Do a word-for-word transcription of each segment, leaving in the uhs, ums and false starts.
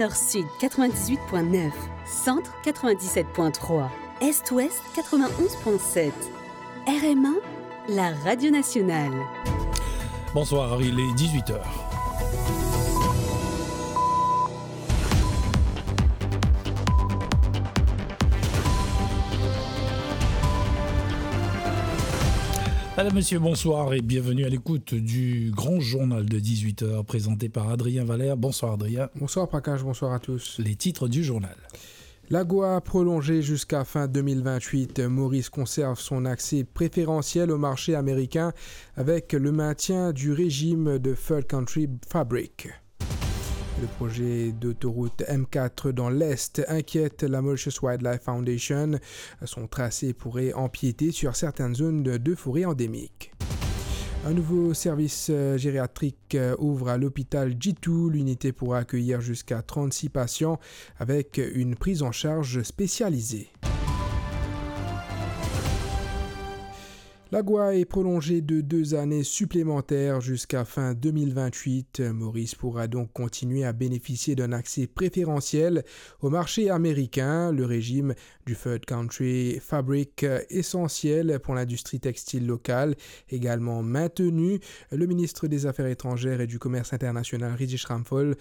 Nord-Sud quatre-vingt-dix-huit point neuf, Centre quatre-vingt-dix-sept point trois, Est-Ouest quatre-vingt-onze point sept. R M A, la radio nationale. Bonsoir, il est dix-huit heures. Madame, Monsieur, bonsoir et bienvenue à l'écoute du grand journal de dix-huit heures présenté par Adrien Valère. Bonsoir Adrien. Bonsoir Prakash, bonsoir à tous. Les titres du journal. L'AGOA prolongée jusqu'à fin deux mille vingt-huit. Maurice conserve son accès préférentiel au marché américain avec le maintien du régime de Third Country Fabric. Le projet d'autoroute M quatre dans l'Est inquiète la Mauritius Wildlife Foundation. Son tracé pourrait empiéter sur certaines zones de, de forêt endémique. Un nouveau service, euh, gériatrique, euh, ouvre à l'hôpital Djitou. L'unité pourra accueillir jusqu'à trente-six patients avec une prise en charge spécialisée. L'AGOA est prolongée de deux années supplémentaires jusqu'à fin deux mille vingt-huit. Maurice pourra donc continuer à bénéficier d'un accès préférentiel au marché américain. Le régime du Third Country Fabric, essentiel pour l'industrie textile locale, également maintenu. Le ministre des Affaires étrangères et du Commerce international, Ritesh Ramphal,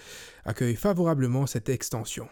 accueille favorablement cette extension.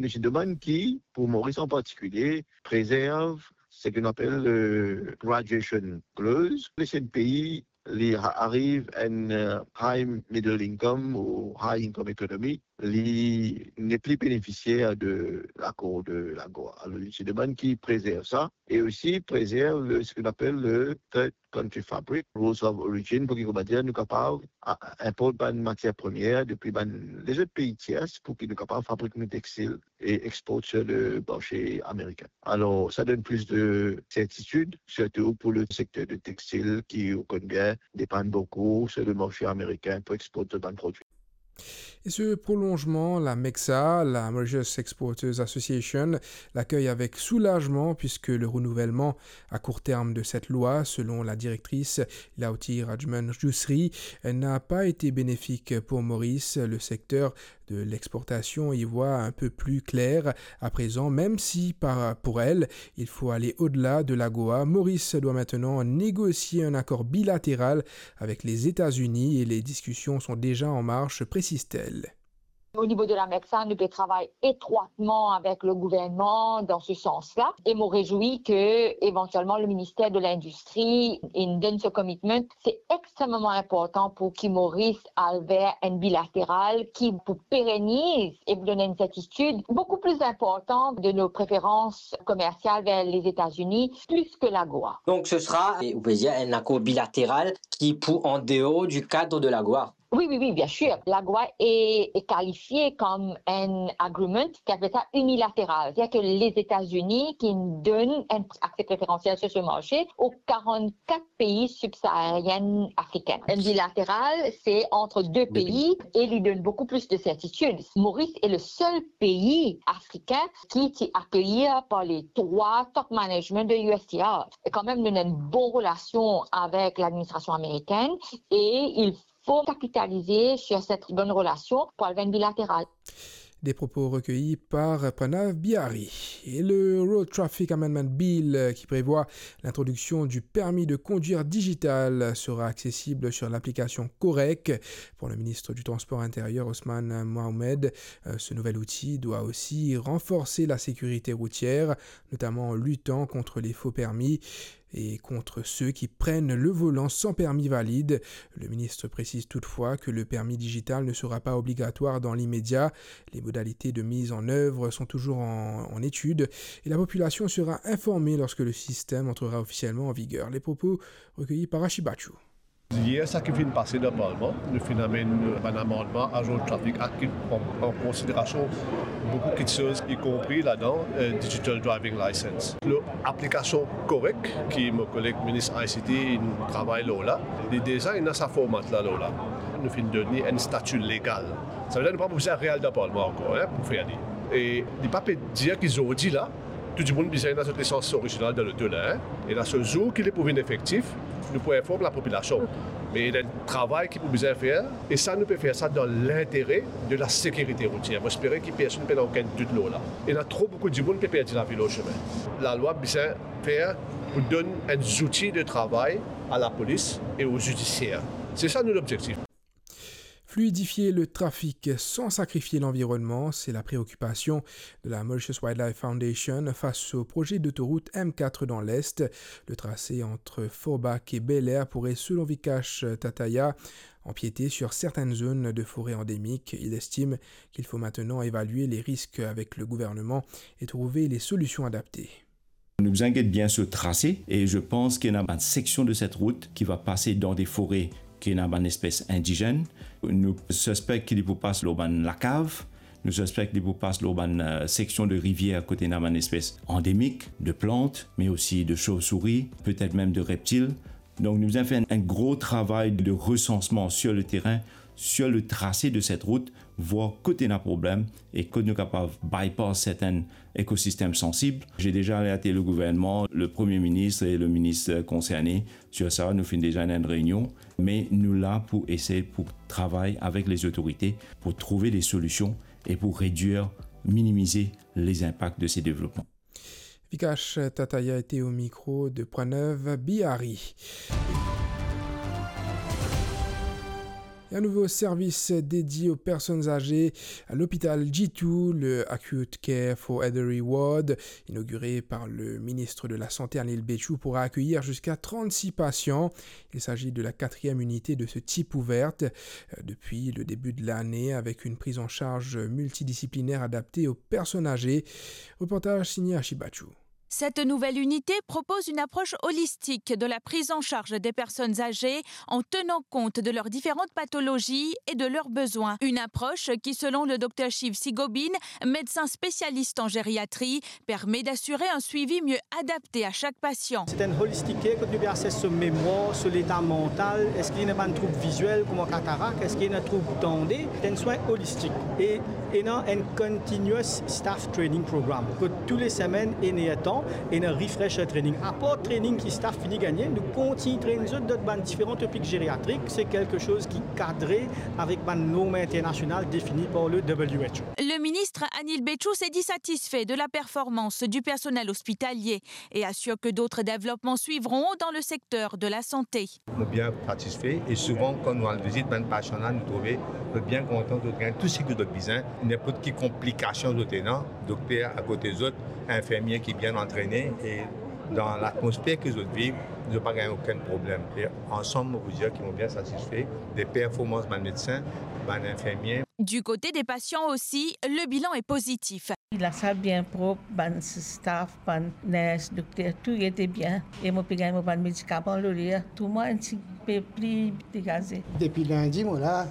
Li ti demann ki, pou Moris an partikilier, prezerv seki nou apel, euh, graduation clause. Les pei li a-, ariv enn, euh, high middle income ou high income economy, li nepli benefisier de lakor de l'AGOA. Alor, li ti demann ki prezerv sa, e osi prezerv le, seki nou apel le third country fabric, rules of origin, pou ki, koumadir, nou kapav a-, inport bann matier premie depi bann lezot pei tiers, pou ki nou kapav fabrik nou textil e export sur le marché américain. Alors, ça donne plus de certitude, surtout pour le secteur de textile qui, ou konn bien, dépend beaucoup sur le marché américain pour exporter bann produits. Et ce prolongement, la MEXA, la Mauritius Exporters Association, l'accueille avec soulagement puisque le renouvellement à court terme de cette loi, selon la directrice Lauti Rajman Jousri, n'a pas été bénéfique pour Maurice. Le secteur de l'exportation y voit un peu plus clair à présent, même si par, pour elle, il faut aller au-delà de l'AGOA. Maurice doit maintenant négocier un accord bilatéral avec les États-Unis et les discussions sont déjà en marche, précise-t-elle. Au niveau de la MEXA, nou pe travay etrwatman avek le gouvernman dan se sans-la. E mo rezwi ke, evantielman, le minister de l'Indistri inn donn se commitment. Se extrememan inportan pou ki Moris al ver enn bilateral ki pou pereniz e pou donn enn sertitid boukou pli inportan de nou preferans komersial ver Lezeta-Zini, plis ke l'AGOA. Donc, ce sera, ou peut dire, un accord bilatéral qui pour en dehors du cadre de l'AGOA. Wi, wi, wi, bien sir. L'AGOA e, e kalifie kom enn agreement ki apel sa inilateral. Setadir ke Lezeta-Zini ki donn enn akse preferansiel sur se marse o karannkat pei sibsaharien afrikin. Enn bilateral, se ant de pei e li donn boukou plis de sertitid. Moris e le sel pei afrikin ki ti akeyir par le trwa top management de U S T R. E kanmem, nou ena enn bon relasion avek ladministrasion amerikin e il faut capitaliser sur cette bonne relation pour aller vers une bilatérale. Des propos recueillis par Pranav Bihari. Et le Road Traffic Amendment Bill, euh, qui prévoit l'introduction du permis de conduire digital, sera accessible sur l'application Korek. Pour le ministre du Transport intérieur, Osman Mohamed, euh, ce nouvel outil doit aussi renforcer la sécurité routière, notamment en luttant contre les faux permis et contre ceux qui prennent le volant sans permis valide. Le ministre précise toutefois que le permis digital ne sera pas obligatoire dans l'immédiat. Les modalités de mise en œuvre sont toujours en, en étude et la population sera informée lorsque le système entrera officiellement en vigueur. Les propos recueillis par Ashi Bachou. Yer, sa ki finn pase dan Parlman, nou finn amenn bann amandman a Road Traffic Act ki pran an konsiderasion boukou kiksoz, ikonpri ladan, eh, digital driving license. Lor aplikasion Korek, ki mo koleg minis I C T inn travay lor la, li deza ena sa format la lor la. Nou finn donn li enn stati legal. Savedir nou pa pou bizin al dan Parlman ankor, en, pou fer li. E li pa pe dir ki zordi la, tou dimoun bizin ena zot lisans orizinal dan loto la, en. E la, so zour ki li pou vinn efektif, nou pou inform lapopilasion. Me ena enn travay ki pou bizin fer, e sa nou pe fer sa dan lintere de lasekirite routier. Mo espere ki personn pena okenn dout lor la. Ena tro boukou dimoun pe perdi lavi lor sime. Lalwa bizin fer pou donn enn zouti de travay a lapolis e o zidisier. Se sa nou lobzektif. Fluidifier le trafic sans sacrifier l'environnement, c'est la préoccupation de la Mauritius Wildlife Foundation face au projet d'autoroute M quatre dans l'Est. Le tracé entre Forbach et Bel Air pourrait, selon Vikash Tataya, empiéter sur certaines zones de forêt endémique. Il estime qu'il faut maintenant évaluer les risques avec le gouvernement et trouver les solutions adaptées. Nou bizin get bien so trase, e je pans ki ena bann seksion de set rout ki va pase dan de fore ki ena bann espes indizenn. Nou sispek ki li pou pas lor bann lakav, nou sispek ki li pou pas lor bann, eh, seksion de rivier kot ena bann espes andemik de plant, me osi de sovsouri, petet mem de reptil. Donk nou bizin fer enn gro travay de resansman sur le terrain, sur le trase de set rout, voir kot ena problem e kot nou kapav bypass sertenn ekosistem sansib. J'ai déjà alerté le gouvernement, le Premier ministre et le ministre concerné sur ça. Nou finn deza ena enn reinion, me nou la pou esey pou travay avek les autorités pou trouve de solusion e pou redwir, minimize les impacts de ces développements. Vikash Tataya était au micro de Pranav Bihari. Et un nouveau service dédié aux personnes âgées à l'hôpital Djitou, le Acute Care for Elderly Ward, inauguré par le ministre de la Santé, Anil Bechou, pourra accueillir jusqu'à trente-six patients. Il s'agit de la quatrième unité de ce type ouverte, euh, depuis le début de l'année, avec une prise en charge multidisciplinaire adaptée aux personnes âgées. Reportage signé Ashi Bachou. Cette nouvelle unité propose une approche holistique de la prise en charge des personnes âgées en tenant compte de leurs différentes pathologies et de leurs besoins. Une approche qui, selon le docteur Shiv Sigobin, médecin spécialiste en gériatrie, permet d'assurer un suivi mieux adapté à chaque patient. C'est un holistic care kot nou pe ases so memwar, so leta mantal, eski ena bann troub viziel kouma katarak, eski ena troub tande, c'est un soin holistique. E ena enn continuous staff training program kot tou le semenn ena tan ena refresher training. Apar training ki staff fini gagne, nou kontign train zot dan bann diferan topik gériatrik. C'est quelque chose ki kadre avek bann norm internasional defini par le W H O. Le ministre Anil Bechou s'est dit satisfait de la performance du personnel hospitalier et assure que d'autres développements suivront dans le secteur de la santé. Nou bien satisfe e souvan kan nou al vizit bann pasian la, nou trouve zot bien kontan, zot gagn tou seki zot bizin. Ninport ki konplikasion zot ena, dokter akote zot, infirmie ki bien antrene e dan latmosfer ki zot viv, zot pa gagn okenn problem. E ansam, mo pou dir ki mo bien satisfe de performans bann medsin, bann infirmie. Du côté des patients aussi, le bilan est positif. Lasal bien prop, bann staff, bann ners, dokter, tou ete bien. E mo pe gagn mo bann medikaman lor ler, tou mwa enn tipe pli degaze. Depi lindi mo la,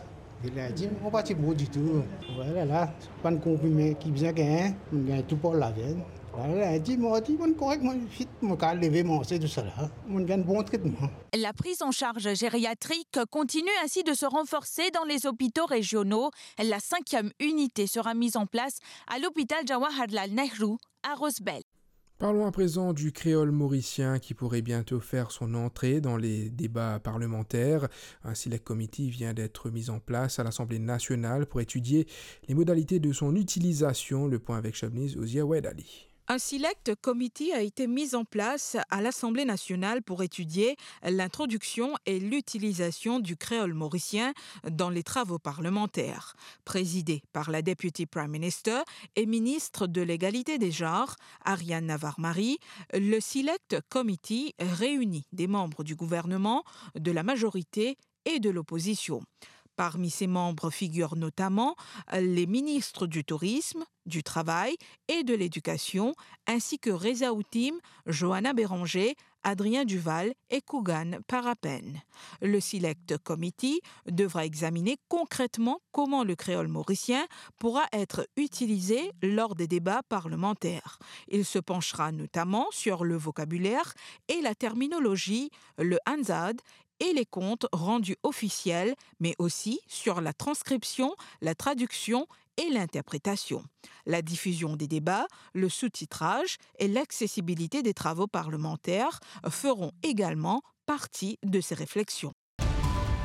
depi lindi mo pa ti bon ditou. Vwala la, bann konprime ki bizin gagn, mo gagn tou par lavenn. Vwala, lindi, mardi, mo korek, mo fit, mo kapav leve, manze, tousala. Mo gagn bon tretman. La prise en charge gériatrique continue ainsi de se renforcer dans les hôpitaux régionaux. La cinquième unité sera mise en place à l'hôpital Jawaharlal Nehru à Rosebel. Parlons à présent du créole mauricien qui pourrait bientôt faire son entrée dans les débats parlementaires. Un select committee vient d'être mis en place à l'Assemblée nationale pour étudier les modalités de son utilisation. Le point avec Shabniz Ozier Wahed Ali. Un select committee a été mis en place à l'Assemblée nationale pour étudier l'introduction et l'utilisation du créole mauricien dans les travaux parlementaires. Présidé par la Deputy Prime Minister et ministre de l'Égalité des genres, Ariane Navarre-Marie, le select committee réunit des membres du gouvernement, de la majorité et de l'opposition. Parmi ces membres figurent notamment les ministres du Tourisme, du Travail et de l'Éducation, ainsi que Reza Haoutim, Johanna Béranger, Adrien Duval et Kougan Parapen. Le Select Committee devra examiner concrètement comment le créole mauricien pourra être utilisé lors des débats parlementaires. Il se penchera notamment sur le vocabulaire et la terminologie, le Hansard et les comptes rendus officiels, mais aussi sur la transcription, la traduction et l'interprétation. La diffusion des débats, le sous-titrage et l'accessibilité des travaux parlementaires feront également partie de ces réflexions.